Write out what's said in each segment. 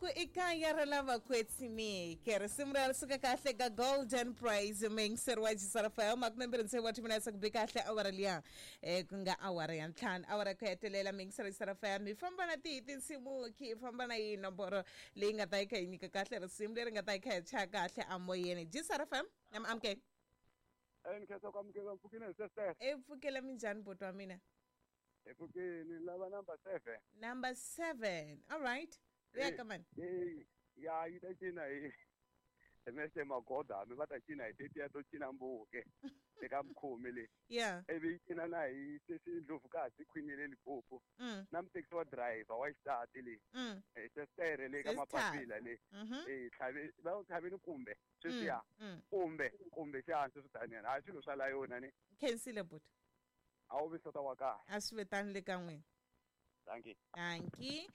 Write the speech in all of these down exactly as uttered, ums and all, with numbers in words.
ku i kaya ra lava kwetsimeke. Risimu ra suka kahle ka Golden Praise mixer wa Jisarafa makume mbirhi tsevu wa timinetse ku bi kahle awara liya eh ku nga awara ya ntlhanu awara ku hetelela mixer wa Jisarafa mi famba na tihi tinsimu ki famba na yi nomboro leyi nga ta yi kha yi nyika kahle risimu leri nga ta yi kha yi chaya kahle amoyeni Jisarafa na amukela eh nkhetsa ku amukela mpfukeni sister e pfukela minjhani buti wa mina epfukeni lava number seven number seven all right ya come on eh ya yi ta cina hi Mister Magoda mi va ta cina hi tetiya to cina mbuke eka mukhomi le yeah ivi yi cina na hi sesi Ndlovukazi Queen le Limpopo na mutekisi wa driver wa xisati le eh sestere le ka mapapila le eh tlhave va tlhaveni kumbe sweswiya kumbe kumbe xihansi swi taniya hayi swilo swa la yona ni khensile buti a wu vi sota wa kahle a swi vetani le ka n'wina. Thank you. Thank you.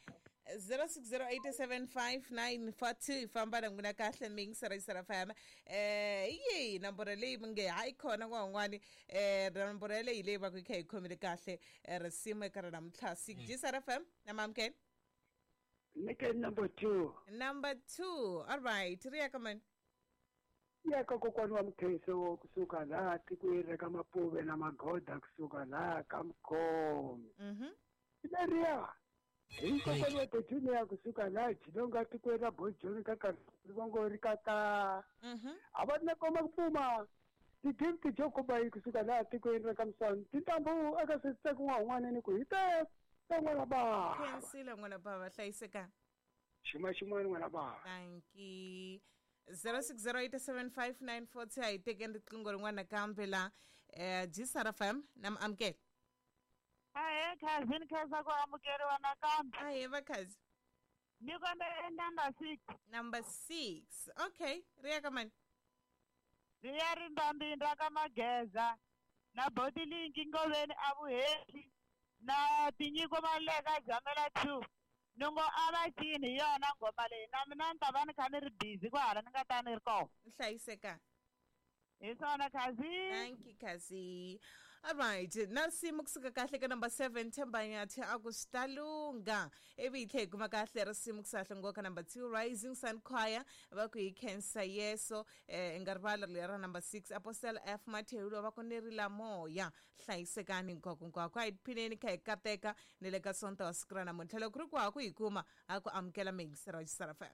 zero six zero eight seven five nine four two famba na n'wina kahle mixer Jisarafa eh yi nomboro leyi mi nge hayi khona n'wan'wani eh nomboro leyi leyi va ku yi kha yi khomile kahle risimu eka ra namuntlha Jisarafa na mamukela Nike number two. Number two. All right. Riya come on. Ya ka kokwana wa Mkhenso kusuka laha tikweni ra ka Mapuve na Magoda kusuka laha ka Mkhomi. Mhm. Leriya hi kokwana wa Junior kusuka laha Jilonga tikweni ra Bojoni ka ka Rivongo ka ka. Mhm. A va na koma ku pfuma ti-gift jo komba yi kusuka laha tikweni ra ka Msani tintambu aka switseko n'wan'wana ni ku hi ta ta n'wana bava. Khensile n'wana bava hlayiseka. Xima xin'wana n'wana bava. Thank you. zero six zero eight seven five nine four two a hi tekeni riqingho rin'wana nakambe la eh Jisarafa na amukela. Ahe cousin khensa ku amukeriwa nakambe. Ahe va cousin. Ni kombela number six. Number six. Okay, riya ka mani. Riya rimbambinda ka Mageza na Botilingi Ngoveni a Vuhehli na Tinyiko Maleka Jamela two. Nungo a va cini hi yona nghoma leyi na mina ni ta va ni kha ni ri busy kwahala ni nga ta ni ri kona. Hlayiseka. Hi swona cousin. Thank you cousin. All right, na risimu kusuka kahle ka number seven Themba Nyathi a ku swi ta lungha ivi hi tlhela hi kuma kahle risimu kusahle ngo ka number two Rising Sun Choir va ku hi khensa Yeso eh nga rivala leri ra number six Apostle F Mathewulo va ku ni rila moya hlayisekani hinkwako hinkwako a hi phineni kha hi kateka ni le ka sonta wa siku ra namuntlha loko ku ri ku ha ku hi kuma ha ku amukela mixer wa Jisarafa.